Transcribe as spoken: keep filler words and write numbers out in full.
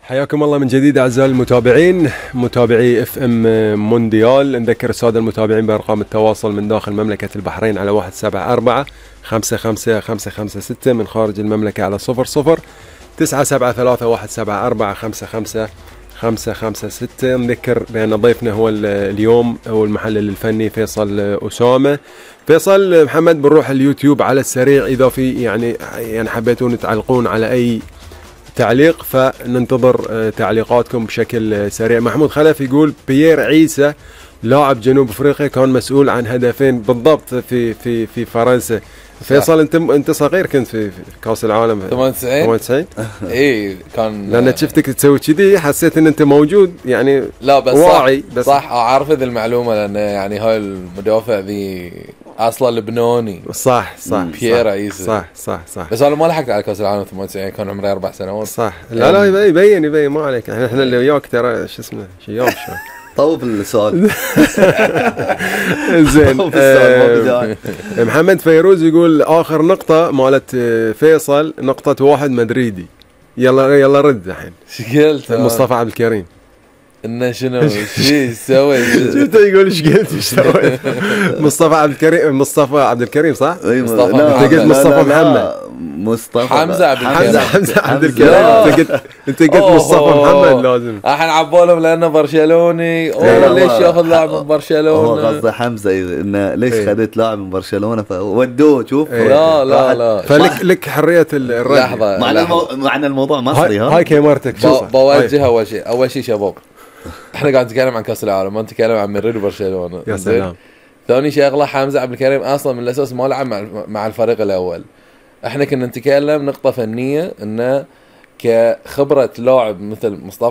حياكم الله من جديد أعزائي المتابعين متابعي اف ام مونديال. نذكر السادة المتابعين بأرقام التواصل من داخل مملكة البحرين على واحد سبعة أربعة خمسة خمسة خمسة خمسة ستة، من خارج المملكة على صفر صفر تسعة سبعة ثلاثة واحد سبعة أربعة خمسة خمسة خمسة خمسة ستة. نذكر بأن ضيفنا هو اليوم هو المحلل الفني فيصل أسامة. فيصل محمد، بنروح اليوتيوب على السريع، إذا في يعني يعني حبيتون تعلقون على أي تعليق فننتظر تعليقاتكم بشكل سريع. محمود خلف يقول بيير عيسى لاعب جنوب افريقيا كان مسؤول عن هدفين بالضبط في في في فرنسا. فيصل انت انت صغير كنت في, في كاس العالم ثمانية وتسعين ثمانية وتسعين اي كان، لان شفتك تسوي كذي حسيت ان انت موجود يعني. لا بس واعي صح بس صح اعرف ذي المعلومه، لان يعني هاي المدافع ذي اصلا لبناني. صح صح بيير عيسى صح صح صح بس انا ما لحقت على كاس العالم ثمانية وتسعين، كان عمري اربع سنوات. صح لا لا يبين يبين ما عليك، احنا احنا اللي وياك ترى شو اسمه شيام شوي طوف السؤال. زين. آه محمد فيروز يقول اخر نقطة مالت فيصل نقطة واحد مدريدي. يلا يلا رد الحين. ايش قلت؟ مصطفى عبد الكريم انه شنو شي سوي؟ شفت يقول ايش قلت ايش سويت؟ مصطفى عبد الكريم مصطفى عبد الكريم صح؟ مصطفى انت قلت مصطفى محمد مصطفى حمزة عبد الكريم حمزة حمزة عبد الكريم. انت قلت انت قلت مصطفى محمد لازم. الحين عبولهم لانه برشلوني. اوه ليش ياخذ لاعب من برشلونة؟ هو قصده حمزة انه ليش خذيت لاعب من برشلونة فودوه. شوف لا لا لا فلك لك حرية الرد. لحظة معنى الموضوع مصري. ها هاي كاميرتك بوجه اول شيء اول شيء شباب، احنا قاعد نتكلم عن كاس العالم، ما نتكلم عن مدريد وبرشلونة. يا سلام. ثاني شغله حمزة عبد الكريم اصلا من الاساس ما لعب مع مع الفريق الاول. احنا كنا نتكلم نقطة فنية انه كخبرة لاعب مثل مصطفى